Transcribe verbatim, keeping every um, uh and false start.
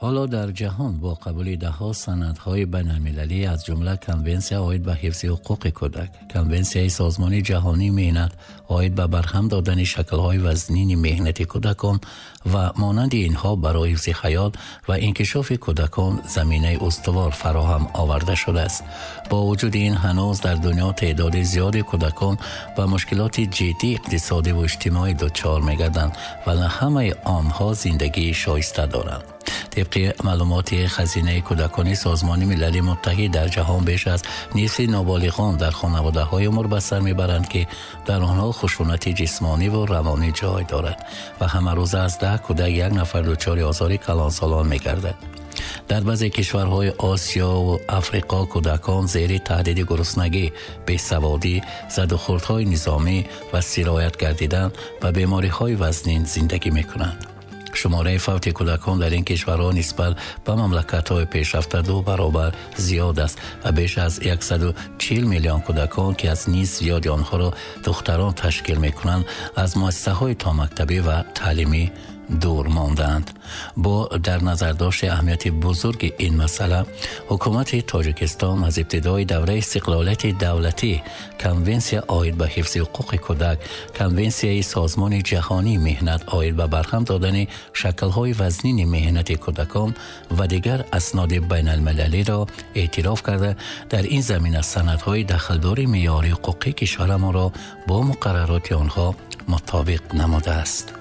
Ҳоло дар ҷаҳон бо қабули даҳҳо санадҳои байналмилалӣ, аз ҷумла Конвенсия оид ба ҳифзи ҳуқуқи кӯдак, Конвенсияи Созмони Ҷаҳонии Меҳнат оид ба барҳам додани шаклҳои вазнини меҳнати кӯдакон ва монанди инҳо, барои ҳифзи ҳаёт ва инкишофи кӯдакон заминаи устувор фароҳам оварда шудааст. Бо вуҷуди ин, ҳанӯз дар дунё теъдоди зиёди кӯдакон ба мушкилоти ҷиддии иқтисодӣ ва иҷтимоӣ дучор мегарданд ва на ҳамаи онҳо зиндагии шоиста доранд. Тибқи маълумоти Хазинаи кӯдакони Созмони Милали Муттаҳид, дар ҷаҳон беш аз нисфи ноболиғон дар хонаводаҳое умр ба сар мебаранд, ки дар онҳо хушунати ҷисмонӣ ва равонӣ ҷой дорад ва ҳамарӯза аз даҳ кӯдак як нафар дучори озори калонсолон мегардад. Дар баъзе кишварҳои Осиё ва Африқо кӯдакон зери таҳдиди гуруснагӣ, бесаводӣ, задухӯрдҳои низомӣ ва сироят гардидан ба бемориҳои вазнин зиндагӣ мекунанд. Шумораи фавти кӯдакон дар ин кишварҳо нисбат ба мамлакатҳои пешрафта ду баробар зиёд аст ва беш аз яксаду чил миллион кӯдакон, ки аз нисф зиёди онҳоро духтарон ташкил мекунанд, аз муассисаҳои томактабӣ ва таълимӣ дур мондаанд. Бо дар назардошти аҳамияти бузурги ин масъала, ҳукумати Тоҷикистон аз ибтидои давраи истиқлолияти давлатӣ Конвенсия оид ба ҳифзи ҳуқуқи кӯдак, Конвенсияи Созмони Ҷаҳонии Меҳнат оид ба барҳам додани шаклҳои вазнини меҳнати кӯдакон ва дигар асноди байналмилалиро эътироф карда, дар ин замина санадҳои дахлдори меъёри ҳуқуқии кишварамонро бо муқаррароти онҳо мутобиқ намудааст.